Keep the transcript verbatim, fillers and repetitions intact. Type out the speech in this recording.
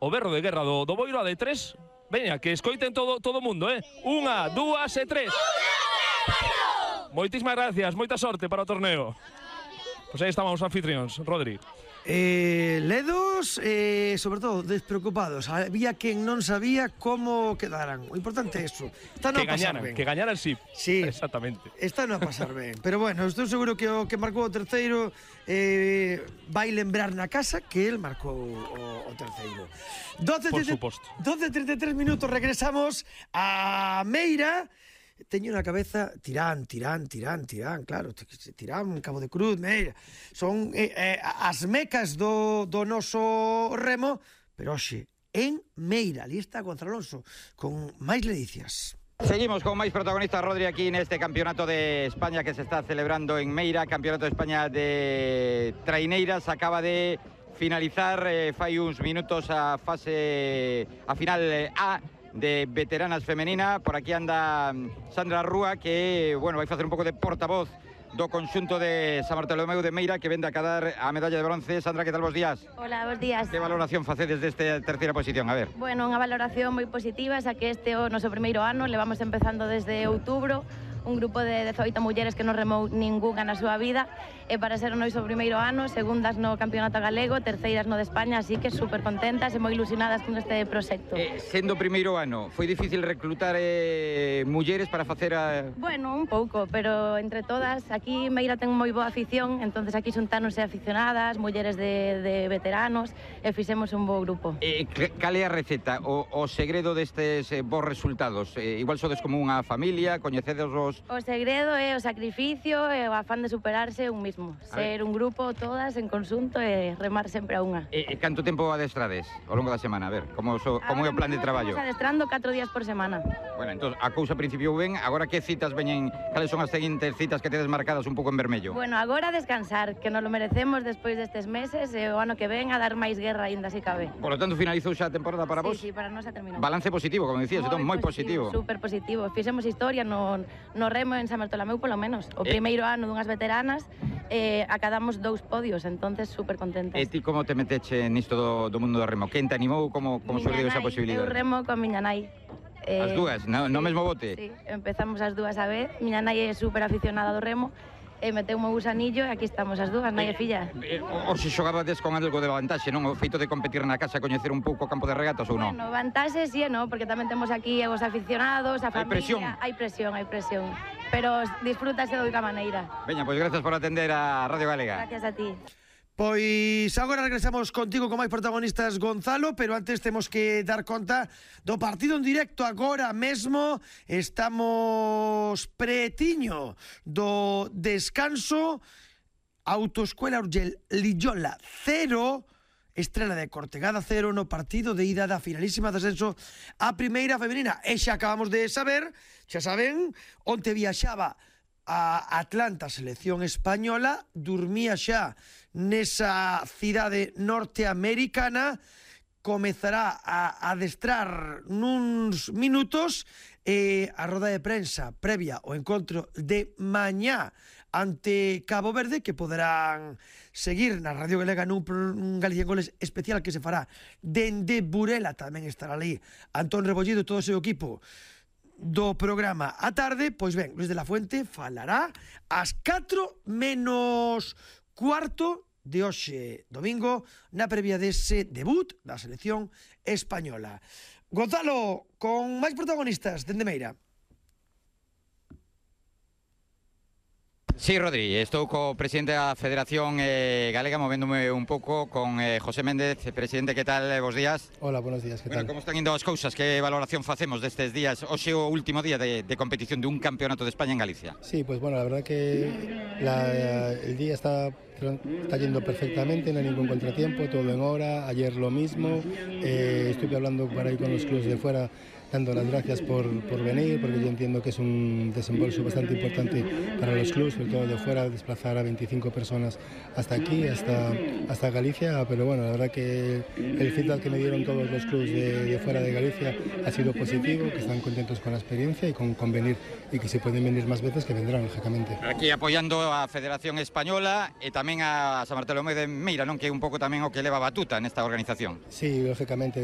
o berro de guerra do, do Boiro a de tres. Veña, que escoiten todo todo mundo, eh? Unha, dúas e tres. Moitísimas gracias, moita sorte para o torneo. Pois aí estamos os anfitrións, Rodri. Eh, ledos, eh, sobre todo despreocupados. Había quen non sabía como quedaran. O importante é eso. Está no que a pasar gañaran, ben. que gañaran sí. Sí, exactamente. Está no a pasar ben. Pero bueno, estou seguro que o que marcou o terceiro eh, vai lembrar na casa que el marcou o, o terceiro. doce, Por suposto. doce e trinta e tres minutos, regresamos a Meira. Teño na cabeza Tirán, Tirán, Tirán, Tirán, claro, Tirán, Cabo de Cruz, Meira. Son eh, eh, as mecas do, do noso remo, pero hoxe, en Meira, ali está Gonzalo Alonso, con máis ledicias. Seguimos con máis protagonistas, Rodri, aquí neste campeonato de España que se está celebrando en Meira, campeonato de España de traineiras. Acaba de finalizar eh, fai uns minutos a fase, a final eh, A de veteranas femenina. Por aquí anda Sandra Rúa, que, bueno, vai facer un pouco de portavoz do conxunto de San Bartolomeu de Meira, que vende a cadar a medalla de bronce. Sandra, que tal, bos días? Hola, bos días. Que valoración facedes desta terceira posición? A ver. Bueno, unha valoración moi positiva, xa que este é o noso primeiro ano, levamos empezando desde outubro, un grupo de dezoito mulleres que non remou ningunha na súa vida, e para ser o noso primeiro ano, segundas no campeonato galego, terceiras no de España, así que super contentas e moi ilusionadas con este proxecto. Eh, sendo o primeiro ano, foi difícil reclutar eh, mulleres para facer a... Bueno, un pouco, pero entre todas, aquí Meira ten moi boa afición, entonces aquí xuntáronse aficionadas, mulleres de, de veteranos, e fixemos un bo grupo. Eh, cal é a receta, o, o segredo destes eh, bons resultados? Eh, igual sodes como unha familia, coñecedes os... O segredo é o sacrificio e o afán de superarse un mismo. Ser un grupo, todas, en conxunto, e remar sempre a unha. E, e canto tempo adestrades ao longo da semana? A ver, como, so, como é o plan de traballo? Estamos adestrando catro días por semana. Bueno, entón, a cousa principio ben. Agora que citas veñen, cales son as seguintes citas que tedes marcadas un pouco en vermello? Bueno, agora descansar, que nos lo merecemos despois destes meses, e o ano que ven a dar máis guerra aínda se cabe. Por lo tanto, finalizou xa a temporada para vos? Sí, sí, para nós xa terminou. Balance positivo, como decías, entón, moi positivo. Super positivo. Fixemos historia no, no remo en San Bartolomeu, polo menos. O Eh. primeiro ano dunhas veteranas, eh, acadamos dous podios, entonces super contentas. E ti como te meteche nisto do, do mundo do remo? Quen te animou? Como, como surgiu esa posibilidade? Eu remo con miña nai. Eh, As dúas, no, sí, no mesmo bote? Sí, empezamos as dúas a vez. Miña nai é super aficionada do remo, e meteu un gusanillo, e aquí estamos as dúas, nai e filla. Eh, o, o se xogabades con algo de vantaxe, non? O feito de competir na casa, coñecer un pouco o campo de regatas ou non? Bueno, vantaxe sí e non, porque tamén temos aquí os aficionados, a Hai familia. presión. Hai presión, hai presión. Pero disfrútase de outra maneira. Veña, pois gracias por atender a Radio Galega. Gracias a ti. Pois agora regresamos contigo con máis protagonistas, Gonzalo, pero antes temos que dar conta do partido en directo agora mesmo. Estamos pretiño do descanso. Autoescuela Urgell Lillola cero, Estrela de Cortegada cero no partido de ida da finalísima de ascenso a primeira femenina. E xa acabamos de saber, xa saben, onte viaxaba a Atlanta, selección española, dormía xa nesa cidade norteamericana, comezará a adestrar nuns minutos, e a roda de prensa previa ao encontro de mañá ante Cabo Verde, que poderán seguir na Radio Galega nun, nun Galicia en Goles especial que se fará dende Burela. Tamén estará ali Antón Rebollido e todo o seu equipo do programa a tarde. Pois ben, Luis de la Fuente falará ás catro menos cuarto de hoxe domingo na previa dese debut da selección española. Gonzalo, con máis protagonistas dende Meira. Sí, Rodri, estou co presidente da Federación eh, Galega, movéndome un pouco con eh, José Méndez. Presidente, que tal? Bos días. Hola, buenos días, que bueno, tal? Como están indo as cousas? Que valoración facemos destes días? Hoxe o último día de, de competición de un campeonato de España en Galicia. Sí, pues bueno, la verdad que la, el día está, está yendo perfectamente, no hay ningún contratiempo, todo en hora. Ayer lo mismo, eh, estuve hablando por ahí con los clubes de fuera dando las gracias por, por venir, porque yo entiendo que es un desembolso bastante importante para los clubes, sobre todo de fuera, desplazar a veinticinco personas hasta aquí, hasta, hasta Galicia, pero bueno, la verdad que el feedback que me dieron todos los clubes de, de fuera de Galicia ha sido positivo, que están contentos con la experiencia y con, con venir, y que si pueden venir más veces que vendrán, lógicamente. Aquí apoyando a Federación Española e tamén a San Bartolomé de Meira, non, que é un pouco tamén o que leva a batuta nesta organización. Sí, lógicamente.